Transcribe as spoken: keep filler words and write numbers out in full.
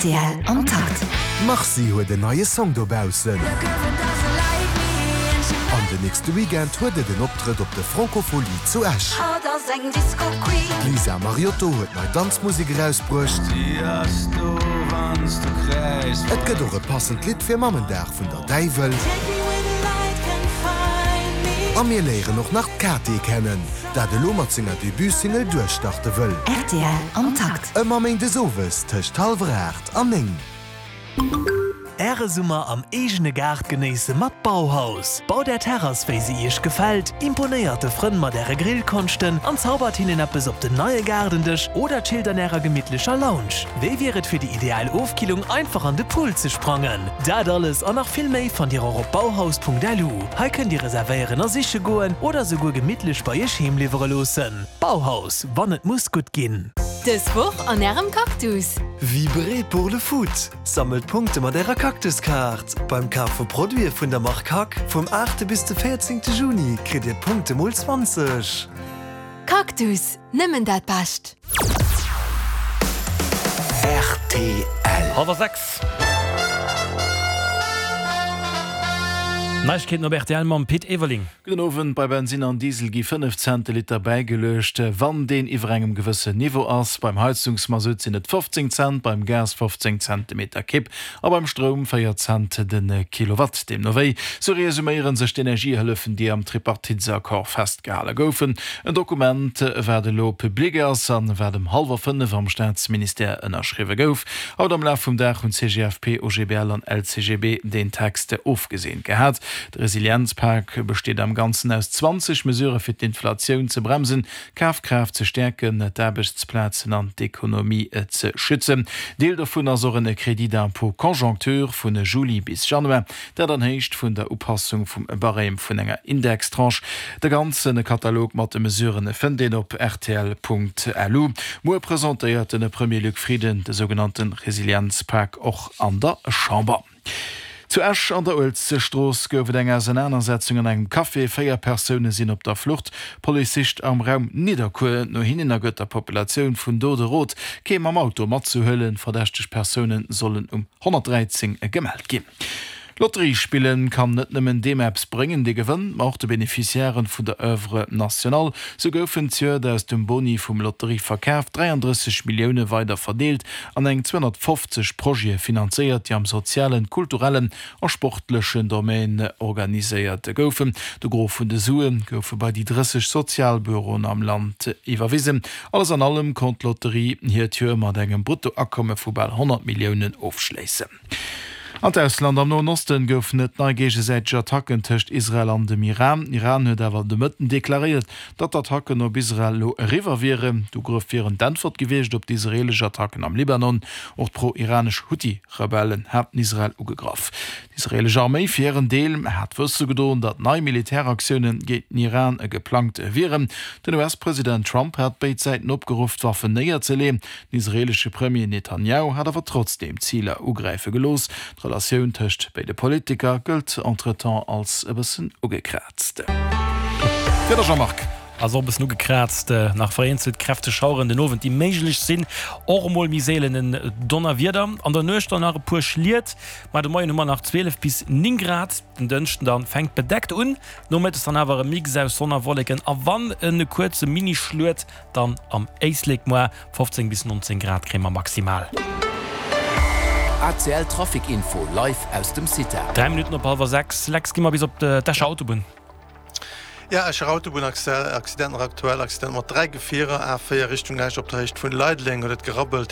Rtl am Takt. D'Marcy huet en neie Song dobaussen. An den nächste Weekend huet et en Optrëtt op de Francofolies zu Esch. D'Lisa Mariotto huet nei Danzmusek erausbruecht. Et gëtt och e passend Lidd fir Mammendag vun der Däiwel. A mir léieren och nach d'Kate kennen, dat elo mat senger Debutsingle duerchstarte wëll. Rtl am Takt. Ëmmer méindes owes tëscht hallwer aacht an néng. Äre Summer am eegene Gaart genéisse mat Bauhaus. Baut är Terrass wéi se iech gefält, imponéiert de Frënn mat äre Grillkonschten an zaubert hinnen eppes op den neie Gaardendësch oder chillt an ärer gemittlecher Lounge. Wéi wier et fir déi ideal Ofkillung einfach an de Pool ze sprangen? Dat alles an nach vill méi fannt dir och op bauhaus.lu. Hei kënnt dir reservéieren a siche goen oder souguer gemittlech bei iech heem liwwere loossen. Bauhaus, wann et muss gutt ginn. Dës Woch an ärem Cactus. Vibrez pour le foot! Sammelt Punkte mat ärer Cactus-Kaart. Beim Kaf vu Produite vun der Mark Hack vum aachte bis de véierzéngte Juni kritt dir Punkte mol zwanzeg. Cactus, nëmmen dat Bescht! Rtl. Hallwer sechs. Neiegkeeten op rtl mam Pit Everling. Gudden Owend, Bei Bensinn an Diesel gi fënnef Cent de Liter bäigeluecht, wann deen iwwer engem gewëssen Niveau ass. Beim Heizungsmasutt sinn et fofzéng Cent, beim Gas fofzéng Cent de Meter Kibb a beim Stroum véier Cent de Kilowatt. Deemno wéi, sou resuméiere sech d'Energiehëllefen, déi am Tripartitesaccord festgehale goufen. En Dokument, wat elo public ass an wat ëm hallwer fënnef am Staatsministère ënnerschriwwe gouf. Haut am Laf vum Dag hunn C G F P, O G B L an L C G B deen Text ofgeseent gehat. De Resilienzpak besteet am Ganzen aus zwanzeg Mesurë fir d'Inflatioun ze bremsen, d'Kafkraaft ze stäerken, d'Aarbechtsplazen an d'Ekonomie ze schützen. Deel dovun ass och en Crédit d'impôt conjoncture vun Juli bis Januar, dat an Héicht vun der Upassung vum Barème vun enger Indextranche. De ganze Katalog mat de Mesuren fënnt een op rtl Punkt lu. Muer presentéiert de Premier Luc Frieden de sougenannte Resilienzpak och an der Chamber. Zu Esch an der Uelzechtstrooss gouf et eng Ausenanersetzung an engem Café. Véier Persoune sinn op der Flucht. D'Police sicht am Raum Nidderkuer no hinnen a gëtt der Populatioun vun do de Rot, kee mam Auto matzehuelen. Verdächteg Persoune sollen um honnertdräizéng gemellt ginn. Lotterie spillen kann net nëmmen deem eppes bréngen, dee gewënnt, ma och de Beneficiairen vun der Oeuvre nationale. Sou goufen zejoert aus dem Boni vum Lotterieverkaf dräiandrësseg Millioune weider verdeelt an eng zweehonnertfofzeg Projete finanzéiert, déi am sozialen, kulturellen a sportlechen Domaine organiséiert goufen. De Gros vun de Sue goufe bei déi drësseg Sozialbüroen am Land iwwerwisen. Alles an allem konnt d'Lotterie hiert Joer mat engem Bruttoakomme vu bal honnert Milliounen ofschléissen. An d'Ausland, Am Noen Osten goufen et nei géigesäiteg Attacken tëscht Israel an dem Iran. Iran huet awer de Mëtten deklaréiert, datt d'Attacken op Israel elo eriwwer wieren. D'Ugrëff wieren d'Äntwert gewiescht op d'israeelesch Attacken am Libanon. Och d'pro-iranesch Huthi-Rebellen haten Israel ugegraff. D'israeelesch Arméi fir hiren Deel hat wësse gedoen, datt nei Militäraktioune géint den Iran geplangt wieren. Den U S-President Trump hat béid Säiten opgeruff, d'Waffen néierzeleeën. Den israeelesche Premier Netanjahu hat awer trotzdeem Ziler ugräife gelooss. D'Relatioun tëscht béide Politiker gëllt entretemps als e bëssen ugekraazt. Wieder Jean-Marc. Ass och e bëssen ugekraazt, nach vereenzelt kräfteg Schaueren den Owend, déi méiglech sinn, och emol méi seelen en Donnerwieder. An der Nuecht dann nach e puer Schliet, ma de Moien hu mer nach zwielef bis néng Grad. Den Dënschden dann fänkt bedeckt un, nomëttes dann awer e Mix aus Sonn a Wolleken a wann e kuerze Mini-Schluet dann am Éislek. Moar fofzéng bis nonzéng Grad kréie mer maximal. A C L Trafic Info live aus dem Cita. Dräi Minutten op hallwer sechs, Lex, gi mer bis op d'Escher Autobunn. Ja, Escher Autobunn, Accident nach aktuell, Accident mat dräi Gefierer, A véier Richtung Esch op der Héicht vun Leideleng huet et gerabbelt.